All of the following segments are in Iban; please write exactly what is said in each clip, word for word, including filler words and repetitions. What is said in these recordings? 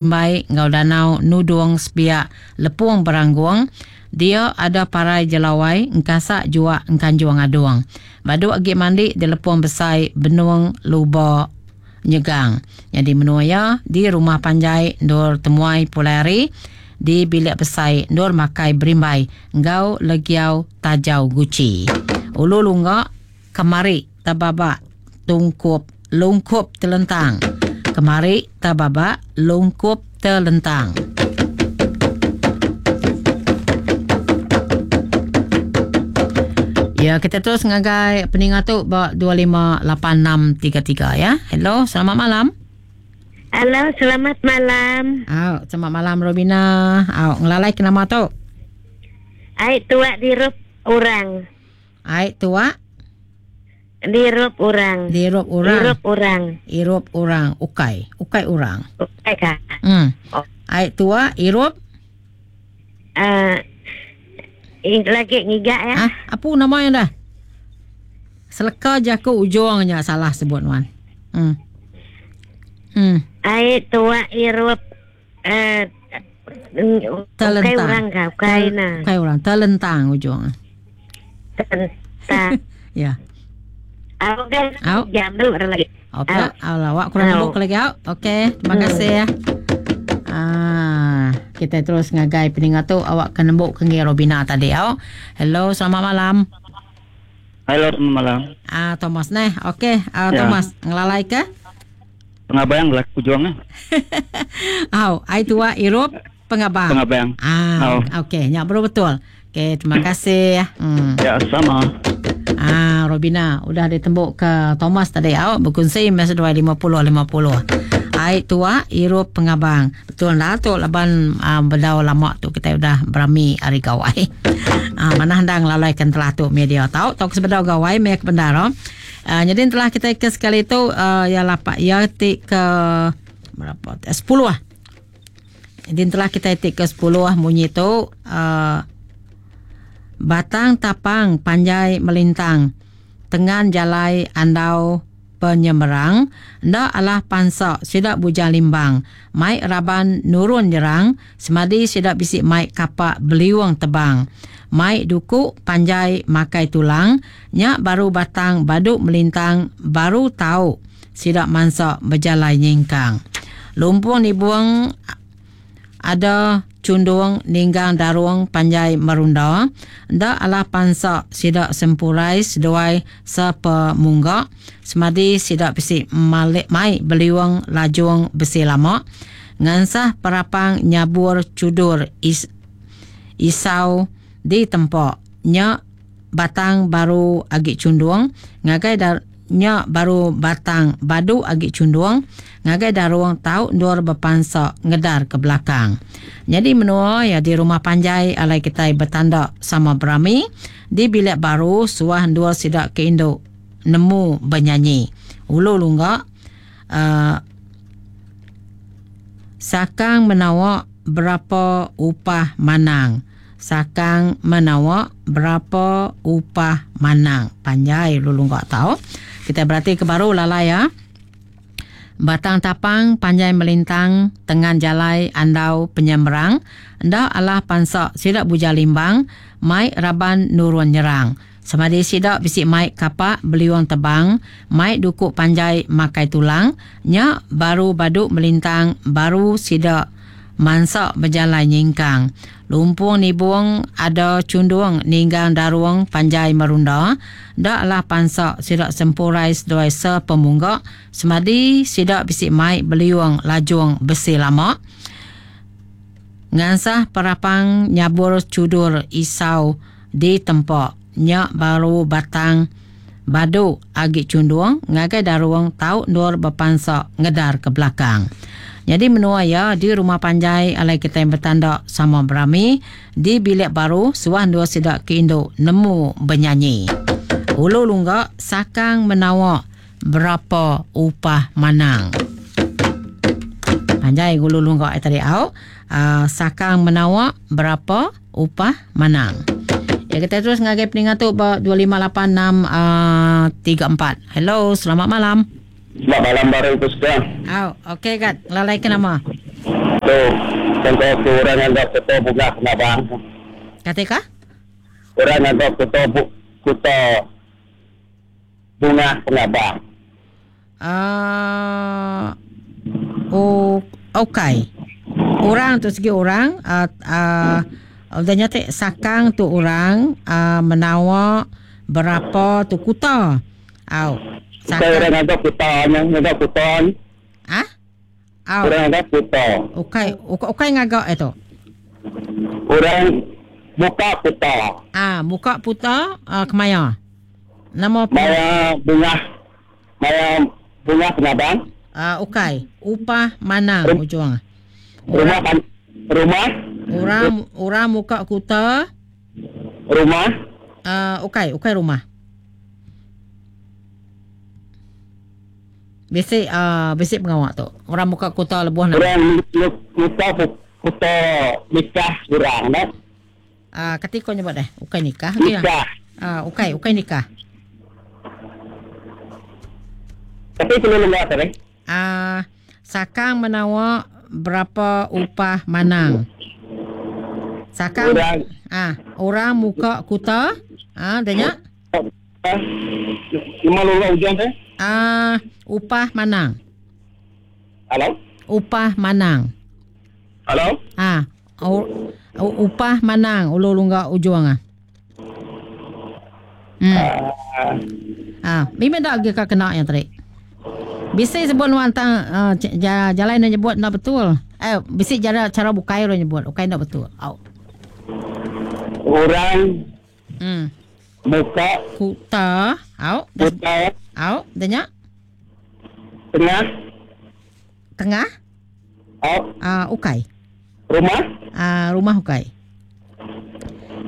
Berimbai enggau danau nudung sepiak lepung beranggung, dia ada parai jelawai engkasak juak engkanjung adung. Badu agi mandi di lepung besai benung luba nyegang. Nyadi menua iya di rumah panjai endur temuai pulai hari, di bilik besai endur makai berimbai enggau legiau tajau guchi. Ulu lungga kemari tebabak tungkup lungkup telentang. Kemari tebabak lungkup telentang. Ya, kita terus ngagai peninga tu ba dua lima lapan enam tiga tiga ya. Hello, selamat malam. Halo, selamat malam. Au, selamat malam Robina. Au, ngelalai ke nama tu? Ai tuak dirup orang. Ai tuak dirup orang. Dirup orang. Irup orang. Irup orang. Ukai. Ukai orang. Ukai kah? Hmm. Oh. Ai tuak irup. Uh, lagi ngigak ya. Ah, apa namanya dah? Seleka je aku ujungnya salah sebut wan. Hmm. Hmm. Ai tuak irup eh uh, telentang. Ukai orang kah? Ukai nah. Ukai orang. Telentang ujung. Telentang. Ya. Au kan jam dulu lagi. Okey, awak kurang nembuk lagi au. Okey, terima kasih ya. Ah, kita terus ngagai peningat tu awak kena nembuk ke Robina tadi au. Hello, selamat malam. Halo, selamat malam. Ah, Thomas neh. Okey, uh, Ya. Thomas ngelalai ke? Pengabang lah kujuang ah. Au, ai tua irup pengabang. Pengabang. Ah, okey, nyak baru betul. Okey, terima kasih. Hmm. Ya, sama. Ah, Robina udah ditembuk ke Thomas tadi au berkongsi masa dua lima puluh lima puluh. Ai tua irup pengabang. Betul lah tu laban uh, bedau lama tu kita udah berami hari gawai. Ah, mana handang lalaikan telah tu media tau tau sebedau gawai mek bendar. Oh. Uh, jadi telah kita ke sekali tu uh, ya lapak ya tik ke berapa? sepuluh ah. Jadi telah kita tik ke sepuluh munyi tu uh, batang tapang panjai melintang tengan jalai andau penyemerang ndak alah pansak sidak bujang limbang mai raban nurun jerang semadi sidak bisik mai kapak beliung tebang mai duku panjai makai tulang nyak baru batang baduk melintang baru tau sidak mansak berjalai nyingkang lumpung nibuang ada cundung ninggang darung panjai merunda ndak alah pansak sidak sempurai seduai sepemunggak semadi sidak besi malik mai beliwang lajung besi lama ngansah perapang nyabur cudur is, isau di tempok nyak batang baru agi cundung ngagai dar nyak baru batang badu agi cundung ngagai darung tau ndur berpansak ngedar ke belakang. Jadi menua ya di rumah panjai alai kita bertanda sama berami di bilik baru suah ndur sidak ke induk nemu bernyanyi. Ulu lunggak uh, sakang menawak berapa upah manang. Sakang menawak berapa upah manang. Panjai lulu enggak tahu. Kita berarti ke baru lalai ya. Batang tapang panjai melintang tengan jalai andau penyemerang ndak alah pansak sidak bujang limbang mai raban nurun nyerang. Semadi sidak bisik mai kapak beliung tebang mai dukuk panjai makai tulang nyak baru baduk melintang baru sidak mansak berjalan nyingkang. Lumpung nibung ada cundung ninggang daruang panjai merunda daklah pansak sidak sempurai seduai sepemunggak semadi sidak bisik mai beliung lajung besi lama ngansah perapang nyabur cudur isau di tempok nyak baru batang baduk agi cundung ngagai daruang tau nur berpansak ngedar ke belakang. Jadi menua ya di rumah panjai alai kita yang bertanda sama berami di bilik baru suah dua sidak ke induk nemu bernyanyi. Ulu lunggak sakang menawak berapa upah manang. Panjai ulu lunggak tadi au uh, sakang menawak berapa upah manang. Ya kita terus ngagai peningat tu dua lima lapan enam tiga empat. Hello, selamat malam. Selamat malam baru Puspa. Oh, okey kat. Lalai ke nama? Tu, contoh tu orang anggap kota bunga pengabang. Kata ka? Orang anggap kota bu, kota bunga pengabang. Ah, uh, oh, okey. Orang tu segi orang uh, uh, udah nyata sakang tu orang uh, menawa berapa tu kuta. Au. Sakang orang anggap kuta, anggap kuta. Ah? Au. Orang anggap kuta. Okey, okey ngagak itu. Orang buka kuta. Ah, buka puta uh, kemaya. Nama apa? Maya bunga. Maya bunga pengabang. Ah, uh, okey. Upah mana ujung? Rumah kan rumah orang orang muka kuta rumah ah uh, okey okey rumah bisik ah uh, bisik pengawak tu orang muka kuta lebuh nak orang muka kuta nikah orang nak ah uh, ketika nyebut dah okey nikah nikah ah uh, okey okey nikah tapi perlu lembak tadi ah uh, sakang menawa berapa upah manang? Sakang orang ah orang muka kuta ah danya lima lula hujan teh ah upah manang. Halo? Upah manang. Halo? Ah u, upah manang ulu lungga ujung ah. Hmm. Uh, ah, mimpi dak ge ka kena yang tadi. Bisa sebut nuan tang uh, jalan nak nyebut nak betul. Eh, bisa cara cara bukai orang nyebut, bukai nak betul. Au. Orang hmm muka kuta, au. Kuta. Au, denya. Tengah. Tengah? Au. Ah, uh, ukai. Rumah? Ah, uh, rumah ukai.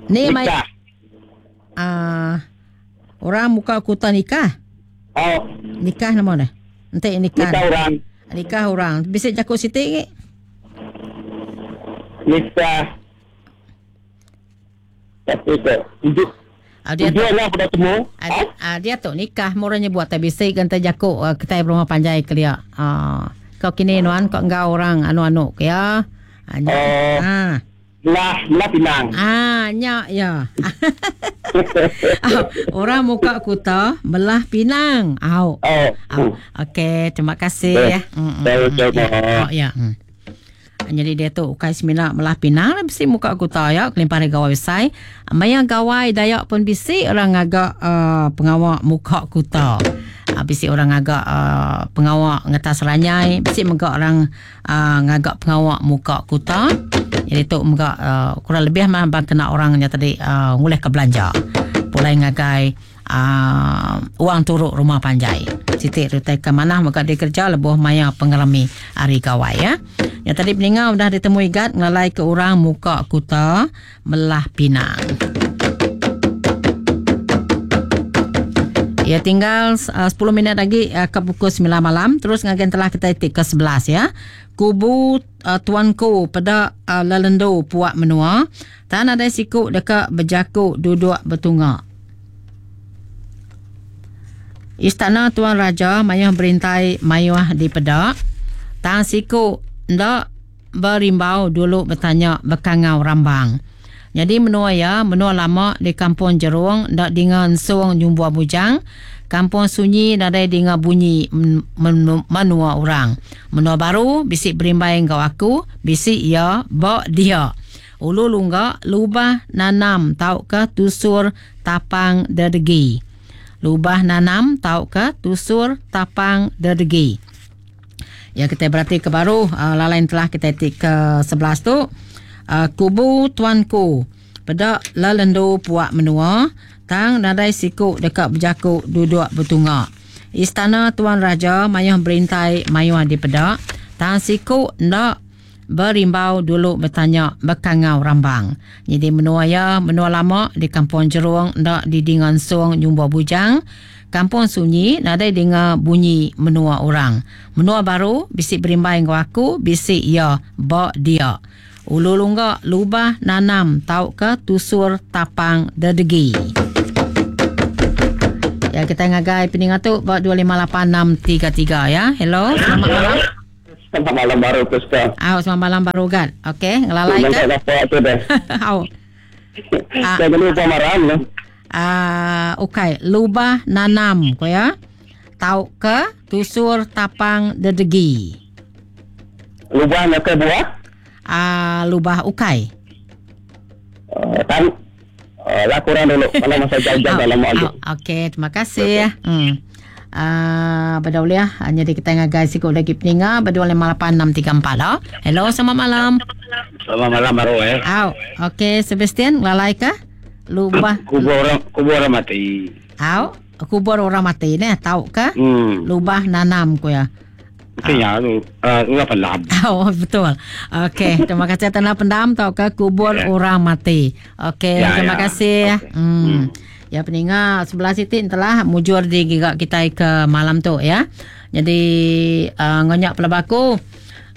Ni mai. Nikah. Ah, uh, orang muka kuta nikah. Au. Nikah nama dah. Nanti nikah. Nikah orang. Nikah orang. Bisa jakut sitik ke? Nikah. Tapi tu. Hidup. Ah, dia tu lah pada temu. Ah, ah, dia tu nikah murahnya buat tak bisa kan terjakut uh, kita rumah panjai kelia. Ah, kau kini nuan kau engkau orang anu-anu ke ya. Ah, nyak. Uh, ah. Lah, lah pinang. Ah, nyak ya. Ah, orang muka kuta belah pinang. Au. Oh. Au. Okey, terima kasih ya. Mm, mm, ya. Oh, ya. Hmm. Jadi dia tu ukai semina belah pinang lah bisi muka kuta ya kelimpah dari gawai besai. Maya gawai Dayak pun bisi orang agak uh, pengawak muka kuta. Uh, bisi orang agak uh, pengawak ngetas ranyai, bisi mega orang uh, ngagak pengawak muka kuta. Jadi tu mega uh, kurang lebih mah bang kena orangnya tadi uh, nguleh ke belanja. Pulai ngagai uh, uang turuk rumah panjai. Sitik rutai ke mana mega dia kerja lebuh maya pengelami hari gawai ya. Yang tadi peningat dah ditemui gat ngalai ke orang muka kuta melah pinang. Ya tinggal uh, sepuluh minit lagi uh, ke pukul sembilan malam. Terus ngagen telah kita itik ke sebelas ya. Kubu uh, tuanku pada uh, lelendo puak menua. Tan ada sikuk dekat berjakuk duduk bertungak. Istana Tuan Raja mayuh berintai mayuh di pedak. Tan sikuk ndak berimbau dulu bertanya bekangau rambang. Jadi menua ya, menua lama di kampung Jerung ndak dengar ensung nyumbua bujang. Kampung sunyi nadai dengar bunyi menua orang. Menua baru bisik berimbai engkau aku, bisik ya bak dia. Ulu lungga lubah nanam tau ke tusur tapang dedegi. Lubah nanam tau ke tusur tapang dedegi. Ya kita berarti ke baru uh, lalain telah kita tik ke sebelas tu. Uh, kubu tuanku pedak lelendo puak menua tang nadai sikuk dekat berjakuk duduk bertungak. Istana Tuan Raja mayuh berintai mayuh di pedak tang sikuk ndak berimbau dulu bertanya bekangau rambang. Jadi menua ya menua lama di kampung Jerung ndak didingan sung nyumba bujang. Kampung sunyi nadai dengar bunyi menua orang. Menua baru bisik berimbai ngau aku bisik ya bak dia. Ulu lungga lubah nanam tau ke tusur tapang dedegi. Ya kita ngagai peningat tu buat dua lima lapan enam tiga tiga ya. Hello, selamat malam. Selamat malam baru Prisca. Au, selamat malam baru Gat. Okey, ngelalai ke? Apa tu deh. Au. Ah. Saya lupa marah lah. Ah, okey, lubah nanam ko ya. Tau ke tusur tapang dedegi. Lubah nak ke buah? Ah, lubah ukai. Uh, tan uh, lah kurang dulu kalau masa jauh-jauh dalam lagi. Okey, terima kasih. Okay. Hmm. Ah, uh, ya. Jadi kita ngagai sikit lagi peninga berdua lima lapan enam tiga empat oh. Hello, selamat malam. Selamat malam baru eh. Au, okey Sebastian, lalai ke? Lubah kubur orang kubur orang mati. Au, kubur orang mati ne, tahu ke? Hmm. Lubah nanam ku ya. Mestinya tu uh, ulah pendam. Oh, betul. Okey, terima kasih tanah pendam tau ke kubur Ya. orang mati. Okey, Ya, terima ya. kasih. Okey. Hmm. Hmm. Ya peninga sebelah sitik telah mujur di gigak kita ke malam tu ya. Jadi uh, ngonyak pelabaku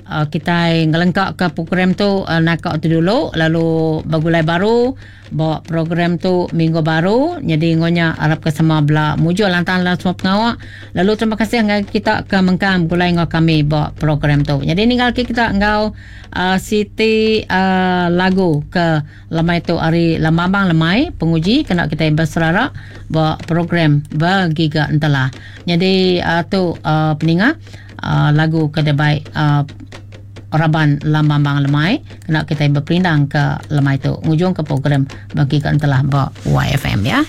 uh, kita ngelengkap ke program tu uh, nakak tu dulu lalu bagulai baru bawa program tu minggu baru. Jadi ngonyak harap ke semua bela mujur lantan lah semua pengawak. Lalu terima kasih ngai kita ke mengkam gulai ngau kami bawa program tu. Jadi ninggal ke kita ngau uh, Siti uh, lagu ke lemai tu hari lemambang lemai penguji kena kita berserara bawa program bergiga entelah. Jadi uh, tu uh, peninga uh, lagu ke baik uh, Raban Lambang Lemai kena kita berperindang ke lemai tu ngujung ke program bagi ke entelah ba Y F M ya.